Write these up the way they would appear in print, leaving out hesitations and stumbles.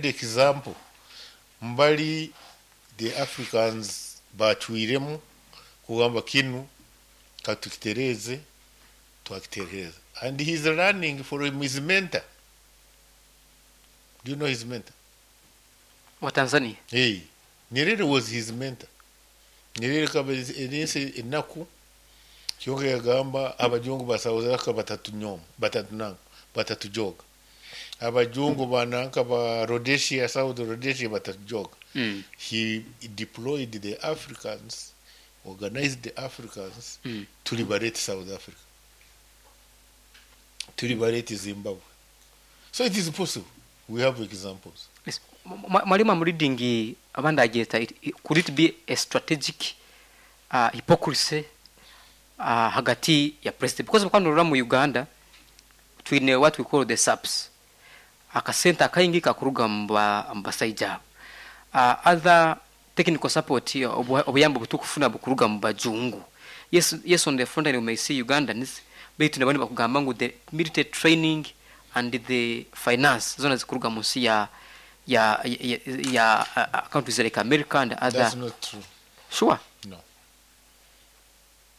Example mbali the Africans bacwiremu kugamba kinu katukitereeze, twakitereeza, and he's learning from his mentor. Do you know his mentor? Wa Tanzania? Hey, Nyerere was his mentor. Nyerere kaba ensi enaku kyonka yagamba abajungu ba South Africa batatunyoma, batatunanga, batatujoga, abajungu bananka ba Rhodesia, South Rhodesia, batatujoga. He deployed the Africans, organized the Africans to liberate South Africa, to liberate Zimbabwe. So it is possible. We have examples. Yes. Mwalimu, I'm reading abandi agyeta could it be a strategic hypocrisy hagati ya president, because mukwanurura mu Uganda twine what we call the SAPS, akasente akaingi kakuruga mu basaija abo, other technical support, obuyambi butukufuna bukuruga mu bajungu. Yes, on the front line we may see Ugandans, baitu nabandi bakugamba ngu the military training and the finance zona zikuruga munsi ya countries like America and other. That's not true. Sure? No,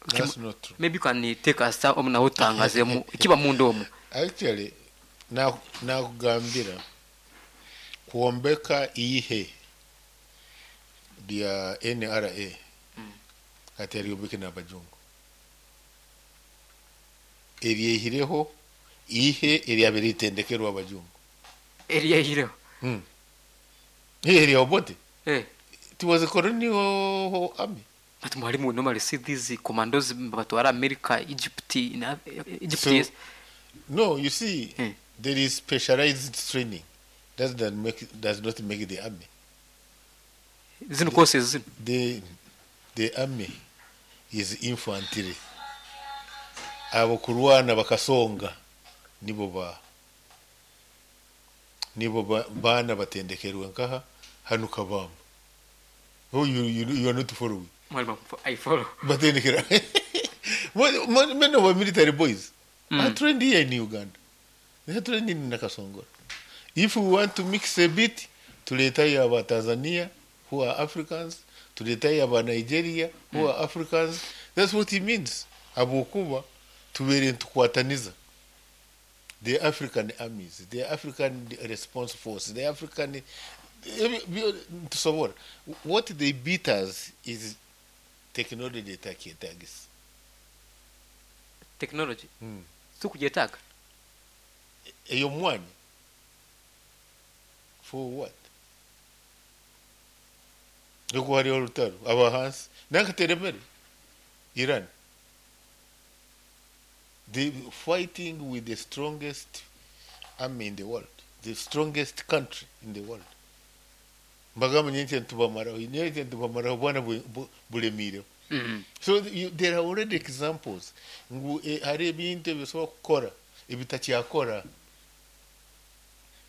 that's not true. Maybe you can take us omu nawe otangazemu ikiba munda omu. Actually, nakugambira kwombeka ihe lya NRA kati aryombeke n'abajungu, eryehireho ihe eryabere ritendekerwa abajungu. Eryehireho? Ihe erya Obote. Eh. It was a colonial army. But mwalimu, we normally see these commandos batwara America, Egypt, in Egypt. So, yes. No, you see, there is specialized training that does not make the army. Zino courses zino. The army is infantry. Abo kurwana bakasonga nibo bana batendekerwe nkaha hano Kabamba. Oh, you are not following. Mwalimu, I follow. Batendekera. Many of our military boys are trained here in Uganda. They are trained in Nakasongola. If we want to mix a bit, tuletayo aba Tanzania who are Africans, tuletayo aba Nigeria who are Africans. That's what it means. Habwokuba tubeere nitukwataniza the African armies, the African Response Force, the African tusobora. What they beat us is technology etakyetagisa. Technology tukugyetaaga. Eyo mwanya for what? Oku hariho orutaro abahansi nankateremere Iran, they fighting with the strongest army in the world, the strongest country in the world. Mbagamba nyenche ntubamaraho, nyenche ntubamaraho bwana bulemireho. So there are already examples ngu hari ebintu ebisobola kukora ebitakyakora.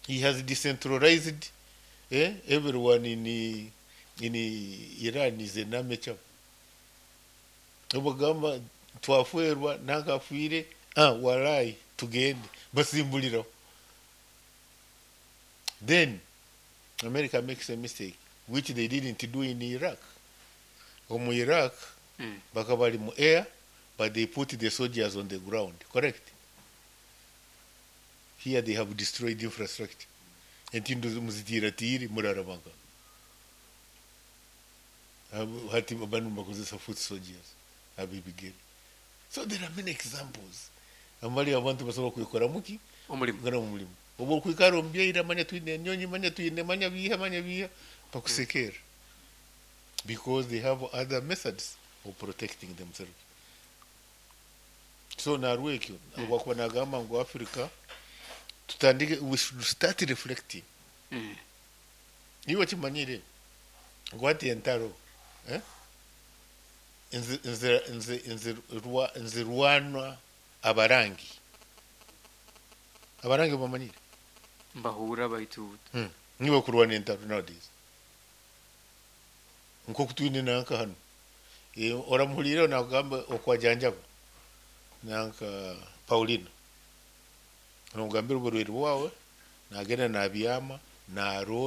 He has decentralized, everyone in Iran is an amateur. Obagamba twafwerwa nankafiire, ah, walai tugende basimbuliraho. Then America makes a mistake which they didn't do in Iraq. Omu Iraq bakaba bari mu air, but they put the soldiers on the ground, correct? Here they have destroyed infrastructure. Entindo muzitiratiri murarabanga hati banu bakozesa foot soldiers abibigere. So there are many examples amali abantu basobola kwikora muki? Omulimu. Ngana mu mulimu oba okwikara omubyaire, manya twine enyonyi, manya twine, manya biha, manya biha, bakusekera because they have other methods of protecting themselves. So narwekyo wakuba nagamba ngu Africa tutandike, we should start reflecting. Iwe kimanyire ngu hati entaro, eh? Nzirwanwa abarangi, abarangi bamanyire? Mbahura baitu. Nibo kurwana entaro nowadays nkoku twine nanka hano. Oramuhurire nakugamba okwajanjaba nanka Paulina, nomugambira oburwaire bwawe, nagenda nabyama naro.